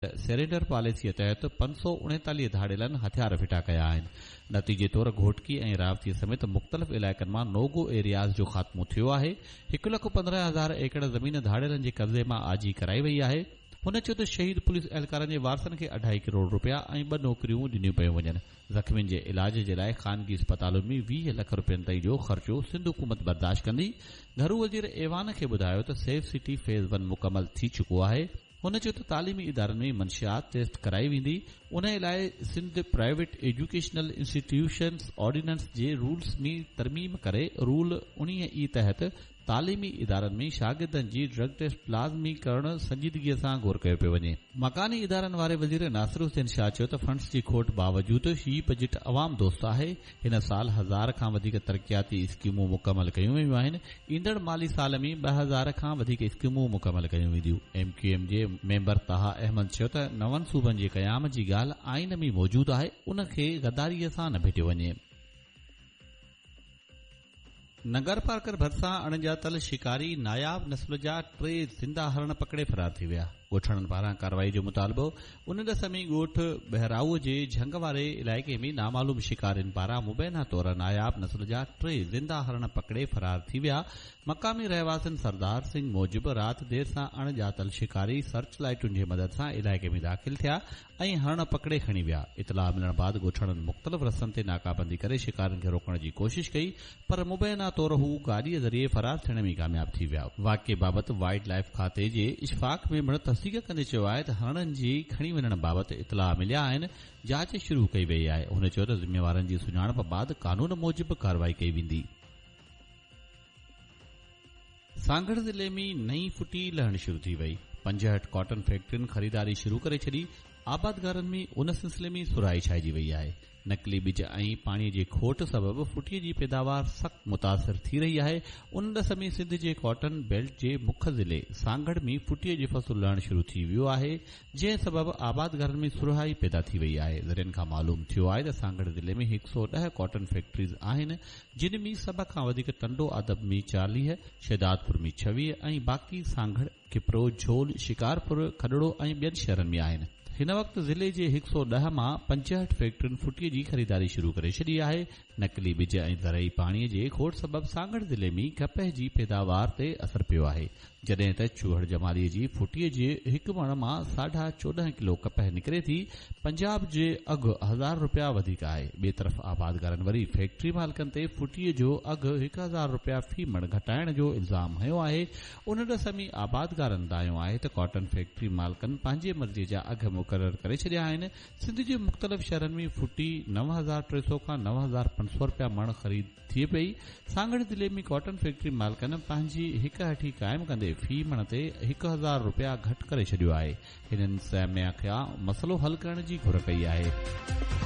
Surrender پاليسيء تحت 539 ڌاڙيلن هٿيار ڦٽا ڪيا آهن. نتيجي طور گهوٽڪي ۽ راوتيء سميت مختلف علائقن مان نو گو ايرياز جو خاتمو ٿيو آهي. 1,15,000 ايڪڙ زمين ڌاڙيلن جي قبضي مان آجي ڪرائي وئي آهي. هن چيو ته شهيد پوليس اهلڪارن جي وارثن کي اڍائي ڪروڙ رپيا ۽ ٻه نوڪريون ڏنيون پيون وڃن. زخمين جي علاج جي لاء خانگي اسپتالن ۾ 20 لک رپين تائين جو خرچو سنڌ حڪومت برداشت ڪندي. گهرو وزير ايوان کي ٻڌايو ته سيف سٽي فيز ون مڪمل ٿي چڪو آهي. هن چيو ته تعليمي ادارن ۾ منشيات ٽيسٽ ڪرائي ويندي، انهي لاء Sindh private educational institutions ordinance جي رولز ۾ ترميم ڪري رول 19 اي تحت تعليمي ادارن ۾ شاگردن جي ڊرگ ٽيسٽ لازمي ڪرڻ سنجيدگي سان غور ڪيو پيو وڃي. مڪاني ادارن واري وزير ناصر حسين شاهه چيو ته فنڊز جي کوٽ باوجود هي بجيٽ عوام دوست آهي، هن سال هزار کان وڌيڪ ترقياتي اسڪيمون مڪمل ڪيون ويون آهن، ايندڙ مالي سال ۾ 2000 کان وڌيڪ اسڪيمون مڪمل ڪيون وينديون. ايم ڪيو ايم جي ميمبر طه احمد چيو ته نون صوبن جي قيام جي ڳالهه آئين ۾ موجود آهي، ان کي غداري سان نه ڀيٽيو وڃي. ننگرپارڪر ڀرسان اڻڄاتل شڪاري ناياب نسل جا ٽي زنده هرڻ پڪڙي فرار ٿي ويا، ڳوٺاڻن پاران ڪارروائي جو مطالبو، ان ڏس ۾ ڳوٺ ٻهرائو جي جهنگ واري علائقي ۾ نامعلوم شڪارين پاران مبينا طور ناياب نسل جا ٽي زنده هرڻ پڪڙي فرار ٿي ويا، مقامي رهواسين سردار سنگهه موجب رات دير سان اڻڄاتل شڪاري سرچ لائيٽن جي مدد سان علائقي ۾ داخل ٿيا ۽ هرڻ پڪڙي کڻي ويا. اطلاع ملڻ بعد ڳوٺاڻن مختلف رستن تي ناڪابندي ڪري شڪارين کي روڪڻ جي ڪوشش ڪئي پر مبينا طور هو گاڏيء ذريعي فرار ٿيڻ ۾ ڪامياب ٿي ويا. واقعي بابت وائلڊ لائيف کاتي جي اشفاق ميمڻ تصديق ڪندي چيو آهي ته هرڻن جي کڻي وڃڻ بابت اطلاع مليا آهن، جاچ شروع ڪئي وئي آهي. هن چيو ته ذميوارن جي سڃاڻپ بعد قانون موجب ڪارروائي ڪئي ويندي. سانگهڙ ضلعي ۾ نئين ڦٽي لهڻ شروع ٿي وئي، 65 ڪاٽن فيڪٽرين خريداري شروع ڪري ڇڏي، آبادگارن ۾ ان سلسلي ۾ سرهائي ڇائجي وئي آهي، نقلي ٻج ۽ پاڻي جي کوٽ سبب ڦٽي جي پيداوار سخت متاثر ٿي رهي آهي، ان ڏس ۾ سنڌ جي ڪاٽن بيلٽ جي مک ضلعي سانگهڙ ۾ ڦٽي جو فصل لهڻ شروع ٿي ويو آهي، جنهن سبب آبادگارن ۾ سرهائي پيدا ٿي وئي آهي، ذريعن کان معلوم ٿيو آهي ته سانگهڙ ضلعي ۾ 110 ڪاٽن فيڪٽريز آهن، جن ۾ سڀ کان وڌيڪ ٽنڊو آدم ۾ 40، شهدادپور ۾ 26 ۽ باقي سانگهڙ، کپرو، جهول، شڪارپور، کڏڙو ۽ ٻين شهرن ۾ آهن. هن وقت ضلعي جي 110 مان 65 فيڪٽرين ڦٽي جي خريداري شروع ڪري ڇڏي آهي. نقلي ٻج ۽ زرعي پاڻي جي کوٽ سبب سانگهڙ ضلعي ۾ ڪپهه جي پيداوار تي اثر پيو آهي. جڏهن ته چوهڙ جمالي جي ڦٽيء جي هڪ مڻ مان 14.5 ڪلو ڪپهه نڪري ٿي، پنجاب جي اگهه هزار رپيا وڌيڪ آهي. ٻئي طرف آبادگارن وري فيڪٽري مالڪن تي ڦٽيء جو اگهه 1000 رپيا في مڻ گهٽائڻ جو الزام هنيو آهي. ان ڏس ۾ آبادگارن دانهيو آهي ته ڪاٽن فيڪٽري مالڪن پنهنجي مرضيء جا اگهه مقرر ڪري ڇڏيا آهن. سنڌ جي مختلف شهرن ۾ ڦٽي 9300 کان 9500 رپيا مڻ خريد ٿئي پئي. سانگهڙ ضلعي ۾ ڪاٽن فيڪٽري مالڪن پنهنجي هڪ هٺي قائم ڪندي في مڻ تي 1000 رپيا گهٽ ڪري ڇڏيو آهي. هنن سيميا کان مسئلو حل ڪرڻ جي گهر ڪئي آهي.